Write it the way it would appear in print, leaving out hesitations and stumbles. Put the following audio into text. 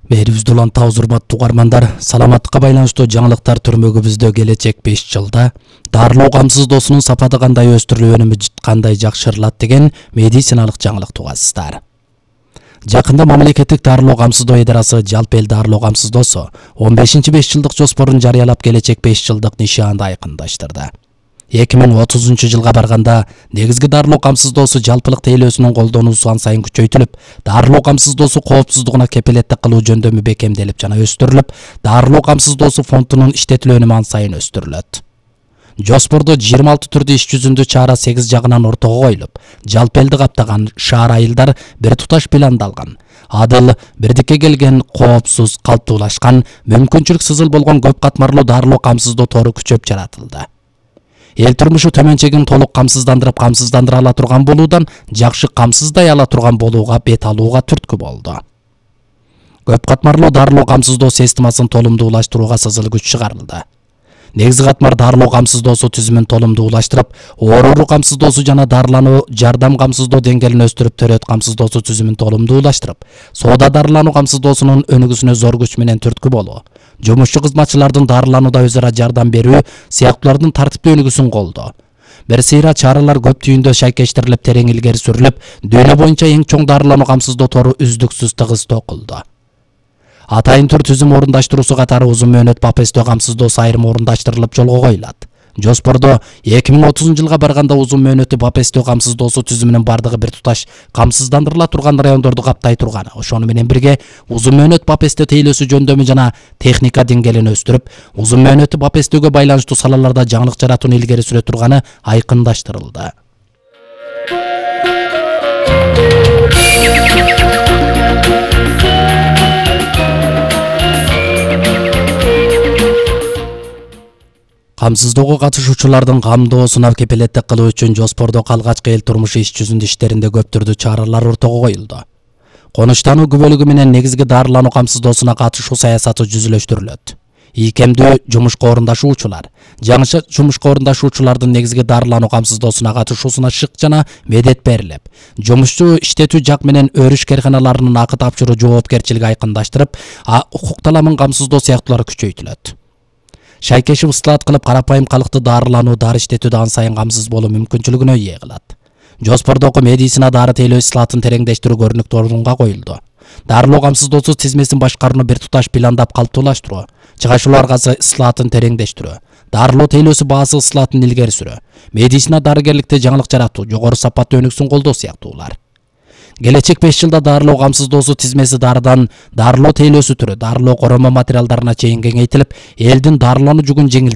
Берибизди уланта урматтуу угармандар, саламаттыкка байланыштуу жаңылыктар түрмөгүбүздө келечек 5 жылда дарылоо камсыздоосунун сапаты кандай өстүрүлүп, өнүмү кандай жакшырылат деген медициналык жаңылык тугасыздар. Жакында мамлекеттик дарылоо камсыздоо идарасы жалпы эл дарылоо камсыздоосу 15-5 жылдык жоспорун жарыялап, келечек 5 жылдык нишаанды айкындаштырды. 2030 жылга барганда негизги дарылоо камсыздоосу жалпылык тейлөөсүнүн колдонуусу ан сайын күчөйтүлүп, дарылоо камсыздоосу коопсуздугуна кепилеттик кылуу жөндөмү бекемделип жана өстүрүлүп, дарылоо камсыздоосу фондунун иштетилүү өнүмү ан сайын өстүрүлөт. Жоспордо 26 түрдүү иш жүзүндө чара 8 жагынан ортого коюлуп, жалпы элди каптаган шаар айылдар бир туташ пландалган. Адыл, бирдикке келген, коопсуз, калптуулашкан, мүмкүнчүлүк сызыл болгон көп катмарлуу дарылоо камсыздоо тору күчөп жаратылды. Эл турмушу төмөн чегин толук камсыздандыра ала турган болуудан жакшы камсыздай ала турган болууга бет алууга түрткү болду. Көп катмарлуу дарылоо камсыздоо системасын толумдуулаштырууга сызыл күч чыгарылды. Негизги катмар дарылоо камсыздоосу түзүмүн толумдуулаштырып, оору камсыздоосу жана дарылануу жардам камсыздоо деңгээлин өстүрүп, төрөт камсыздоосу түзүмүн толумдуулаштырып, соода дарылануу камсыздоосунун өнүгүүсүнө зор күч менен түрткү болуу, жумушчу кызматчылардын дарыланууда өз ара жардам берүү сыяктуулардын тартиптүү өнүгүүсүн колдоо. Бир сыйра чаралар көп түйүндө шайкештирилип, терең илгери сүрүлүп, дүйнө боюнча эң чоң дарылануу камсыздоо тору үздүксүз тыгыз токулду. Атайын түр түзүм орундаштыруусу катары узун мөөнөт БАПСТ камсыздоосу айрым орундаштырылып жолго коюлат. Жоспордо 2030 жылга барганда узун мөөнөттүү БАПСТ камсыздоосу түзүмүнүн бардыгы бир туташ камсыздандырыла турган райондорду каптай турганы, ошону менен бирге узун мөөнөт БАПСТ тейлөөсү жөндөмү жана техника деңгээлин өстүрүп, узун мөөнөттүү БАПСТгө байланыштуу салаларда жаңылык жаратууну илгери сүрө турганы айкындаштырылды. Камсыздоого катышуучулардын камдоосуна кепилеттик кылуу үчүн жоспордо калгачкы эл турмушу иш жүзүндө иштеринде көп түрдүү чаралар ортого коюлду. Конуштануу күбөлүгү менен негизги дарылануу камсыздоосуна катышуу саясаты жүзүлөштүрүлөт. Ийкемдүү жумушка орундашуучулар, жаңы жумушка орундашуучулардын негизги дарылануу камсыздоосуна катышуусуна шык жана медет берилип, жумушчу иштетүү жак менен өрүш карканаларынын акы тапшыруу жоопкерчилиги айкындаштырып, укук таламын камсыздоо сыяктуулар күчөйтүлөт. Шайкешип ыстылаат кылып, карапайым калкты дарылануу, дары иштетүүдө ан сайын камсыз болуу мүмкүнчүлүгүнө ээ кылат. Жоспордогу медицина дары тейлөө ысылаатын тереңдештирүү көрүнүктүү орунга коюлду. Дарылоо камсыздоосу тизмесин башкарууну бир туташ пландап калптуулаштыруу, чыгашуулар аркасы ысылаатын тереңдештирүү, дарылоо тейлөөсү баасы ысылаатын илгери сүрүү, медицина дарыгерликте жаңылык жаратуу, жогору сапаттуу өнүгүүсүн колдоо сыяктуулар. Келечек 5 жылда дарылоо камсыздоосу тизмеси дарыдан дарылоо тейлөөсү түрү, дарылоо коромо материалдарына чейин кеңейтилип, элдин дарылануу жүгүн жеңил